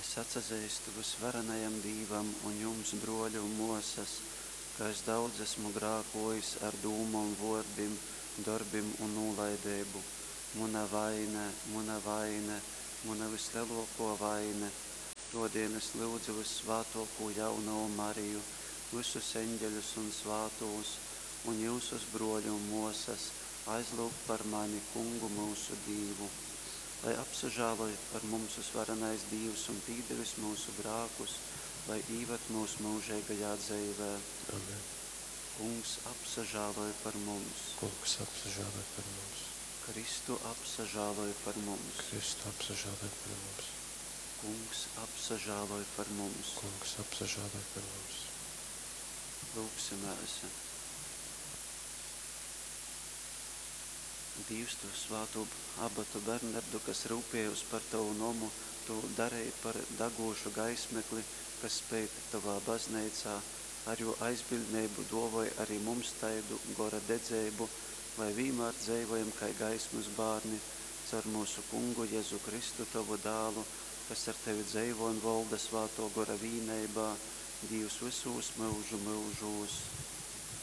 Es atsazeistu Vysvarenajam Dīvam un jums, brōli un mōsas, ka es daudz esmu grākōjis ar dūmom, vōrdim, dorbim un nūlaideibu. Muna vaine, muna vaine, muna vyslelōkō vaine. Tōdēļ es lyudzu vyssvātōkū Jaunovu Mariju, vysus eņgeļus un svātūs, un jyusus, brōli un mōsas, aizlyugt par mani Kungu myusu Dīvu. Lai apsažāloj par mums vysvarenais Dīvs un pīdevis myusu grākus, lai īvad myus myužeigajā dzeivē. Amen. Kungs, apsažāloj par mums! Kungs, apsažāloj par mums! Kristu, apsažāloj par mums! Kristu, apsažāloj par mums! Kungs, apsažāloj par mums! Kungs, apsažāloj par mums! Lūgsimēs! Dīvs, tu svātū abatu Bernardu, kas ryupējōs par tovu nomu, tu dareji par dagūšu gaismekli, kas speid tovā bazneicā, ar jō aizbiļdneibu dōvoj ari mums taidu gora dedzeibu, lai vīnmār dzeivojam kai gaismas bārni, caur myusu Kungu Jezu Kristu, tovu Dālu, kas ar tevi dzeivo un volda Svātō Gora vīneibā, Dīvs vysūs myužu myužūs.